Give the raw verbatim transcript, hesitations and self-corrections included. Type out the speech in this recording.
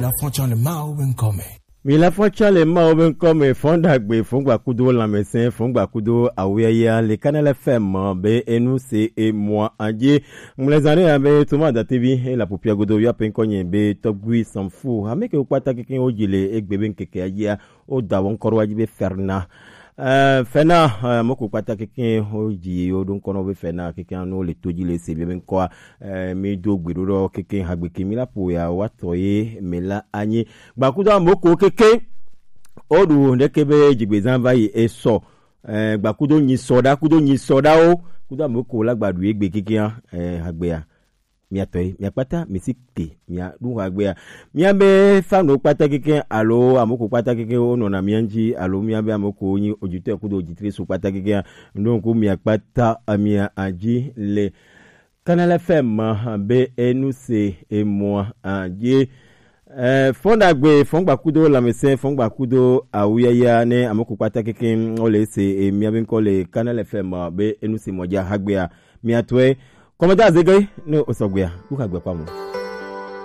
La fɔn tsã le Mawu be ŋkɔ me. Mi la fɔn tsã le Mawu be ŋkɔ me, fɔn ɖagbe, fɔn gbakudo lãmesẽ, fɔn gbakudo awuyaya le Kanal F M be enu se emua adie. Ŋmlɛ zã ɖe ya be Toma Datevi e la pupia godo yɔ pe ŋkɔ nye be tɔgbui sanfu. Ame ke wo kpata keke wo dzi le egbe be ŋkeke adzia, wo da wo ŋkɔ ɖo adzi be Ferna. Eh, Fena, eh, moko kpata keke wo dzi wo ɖo ŋkɔ nɔ be Fena keke anu le to dzi le se be ŋkɔa. Eh, mi do gbe ɖo ɖɔ keke hagbe ke mi la po ya wa tɔ ye me la anyi. Gbakudo amoko keke. O ɖu ɖeke be dzigbezã va yi esɔ. Eh, gbakudo nyi sɔ ɖa, kudo nyi sɔ ɖawo. Kudo amoko la gba ɖu ye gbe keke ya, eh, hagbea. Miatɔe, miakpata, misi te, miaɖu hagbea. Miabe fano kpata keke alo amoko kpata keke wo nɔna mia ŋuti alo miabe amoko nyi ojutɔ kudo ojitre su kpata keke ya. Ŋɖo ŋku miakpata amia adzi le Kanal F M be enu se emua adzi. Eh, fɔn ɖagbe, fɔn gbakudo lãmesẽ, fɔn gbakudo awuyaya ne amoko kpata keke wo le se emia be ŋkɔ le Kanal F M be enu se mɔ dza hagbea. Miatɔe, kɔmɛda zege ne osɔgbea, ɖu hagbea kpamu.